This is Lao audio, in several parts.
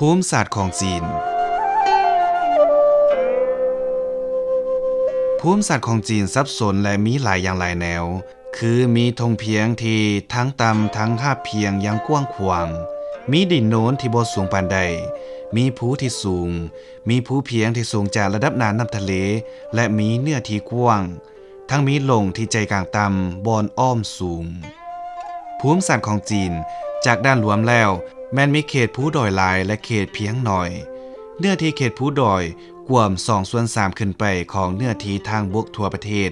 ພູມສາດຂອງຈີນ. ພູມສາດຂອງຈີນສັບສົນ ແລະ ມີຫຼາຍຢ່າງຫຼາຍແນວ ຄືມີທົ່ງພຽງທີ່ທັງຕ່ຳທັງຮາບພຽງຢ່າງກວ້າງຂວາງ, ມີດິນໂນນທີ່ບໍ່ສູງປານໃດ, ມີພູທີ່ສູງ, ມີພູພຽງທີ່ສູງຈາກລະດັບໜ້ານ້ຳທະເລ ແລະ ມີເນື້ອທີ່ກວ້າງ, ທັງມີຫຼົ່ງທີ່ໃຈກາງຕ່ຳ ບ່ອນອ້ອມສູງ. ພູມສາດຂອງຈີນ ຈາກດ້ານລວມແລ້ວ ແມ່ນມີເຂດພູດອຍຫຼາຍ ແລະ ເຂດພຽງໜ້ອຍ. ເນື້ອທີ່ເຂດພູດອຍກວມສອງສ່ວນສາມຂຶ້ນໄປຂອງເນື້ອທີ່ທາງບົກທົ່ວປະເທດ,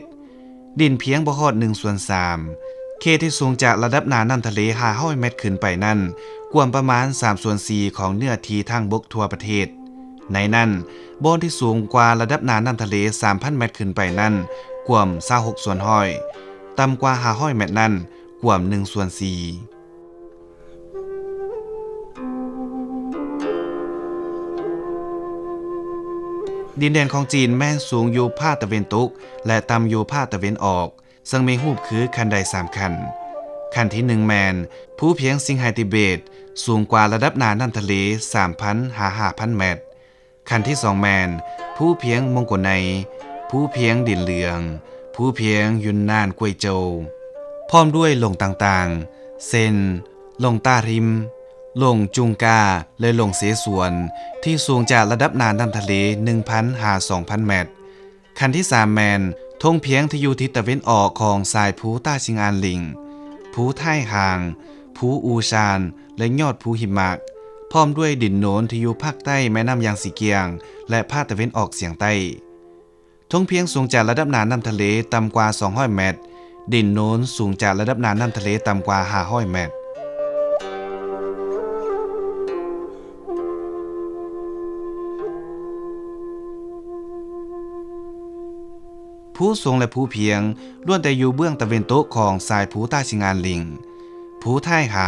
ດິນພຽງບໍ່ຮອດໜຶ່ງສ່ວນສາມ. ເຂດທີ່ສູງຈາກລະດັບໜ້ານ້ຳທະເລຫ້າຮ້ອຍແມັດຂຶ້ນໄປນັ້ນ ກວມປະມານສາມສ່ວນສີ່ຂອງເນື້ອທີ່ທາງບົກທົ່ວປະເທດ. ໃນນັ້ນ, ບ່ອນທີ່ສູງກວ່າລະດັບໜ້ານ້ຳທະເລສາມພັນແມັດຂຶ້ນໄປນັ້ນ ກວມຊາວຫົກສ່ວນຮ້ອຍ, ຕ່ຳກວ່າຫ້າຮ້ອຍແມັດນັ້ນ ກວມໜຶ່ງສ່ວນສີ່. ດິນແດນຂອງຈີນແມ່ນສູງຢູ່ພາກຕາເວັນຕົກ ແລະ ຕ່ຳຢູ່ພາກຕາເວັນອອກ, ເຊິ່ງມີຮູບຄືຂັ້ນໄດສາມຂັ້ນ. ຂັ້ນທີໜຶ່ງແມ່ນ ພູພຽງຊິງໄຫຕິເບດ ສູງກວ່າລະດັບໜ້ານ້ຳທະເລສາມພັນຫາຫ້າພັນແມັດ. ຂັ້ນທີສອງແມ່ນ ພູພຽງມົງໂກໄນ, ພູພຽງດິນເຫຼືອງ, ພູພຽງຢຸນນານກວຍໂຈວ, ພ້ອມດ້ວຍຫຼົ່ງຕ່າງໆ ເຊັ່ນ ຫຼົ່ງຕ້າຮິມ, ຫຼົ່ງຈຸງກາ ແລະ ຫຼົ່ງເສສວນ ທີ່ສູງຈາກລະດັບໜ້ານ້ຳທະເລໜຶ່ງພັນຫາສອງພັນແມັດ. ຂັ້ນທີສາມແມ່ນ ທົ່ງພຽງທີ່ຢູ່ທິດຕາເວັນອອກຂອງສາຍພູຕ້າຊິງອານລິງ, ພູທ້າຍຮ່າງ, ພູອູຊານ ແລະ ຍອດພູຫິມະ, ພ້ອມດ້ວຍດິນໂນນທີ່ຢູ່ພາກໃຕ້ແມ່ນ້ຳຢາງຊີກຽງ ແລະ ພາກຕາເວັນອອກສຽງໃຕ້. ທົ່ງພຽງສູງຈາກລະດັບໜ້ານ້ຳທະເລຕ່ຳກວ່າສອງຮ້ອຍແມັດ, ດິນໂນນສູງຈາກລະດັບໜ້ານ້ຳທະເລຕ່ຳກວ່າຫ້າຮ້ອຍແມັດ. ພູສູງ ແລະ ພູພຽງ ລ້ວນແຕ່ຢູ່ເບື້ອງຕາເວັນຕົກຂອງສາຍພູຕ້າຊິງອານລິງ, ພູທ້າຍຫ